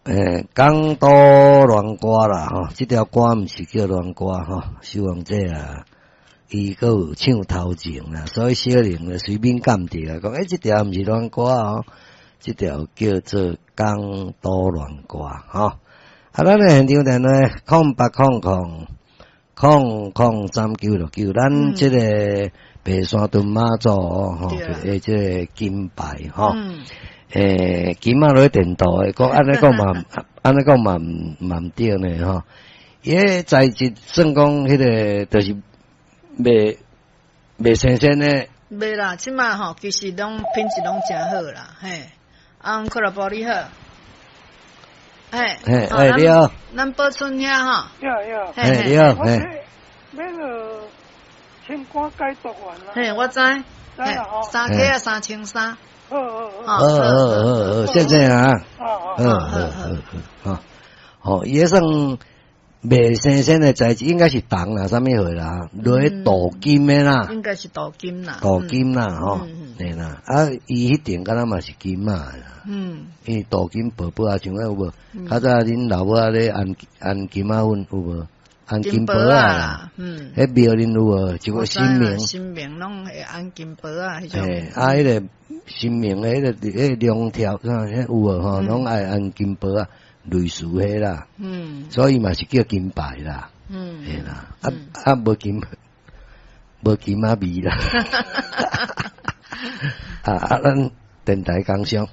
欸，港都戀歌啦吼，這條歌毋是叫戀歌吼，守望者啊，伊閣有唱頭前啦，所以小玲就隨便鑑著啊，講欸，這條毋是戀歌哦，這條叫做港都戀歌吼。啊，咱的現場電話080000003969，咱這個白沙屯媽祖吼，欸，這個金牌吼。欸，金仔落去電鍍的，講按呢講嘛，按呢講嘛毋嘛毋對呢吼。伊彼材質算講彼個就是袂袂新鮮的。袂啦，這馬吼其實攏品質攏誠好啦，嘿。啊，克拉波你好。嘿，嘿，欸，你好。咱寶春兄吼。對對。嘿，你好，嘿。買個清肝解毒丸啦。嘿，我知。嘿，3克啊，3300。好好好，好好好，謝謝啊。好好好好，好，伊算袂新鮮的材質，應該是銅啦，啥物貨啦，落去鍍金的啦。應該是鍍金啦。鍍金啦，吼，對啦。啊，伊彼頂敢若嘛是金仔啦。伊鍍金薄薄啊，像有無？較早恁老母仔咧按按金仔粉有無？按金箔仔啦。彼廟恁有無？一個神明。神明攏會按金箔仔彼種。嘿，啊，彼個神明的彼個彼個龍條，啥有無吼？攏愛按金箔仔，類似彼啦。所以嘛是叫金牌啦。嘿啦，啊啊，無金無金仔味啦。啊啊，咱電台工商。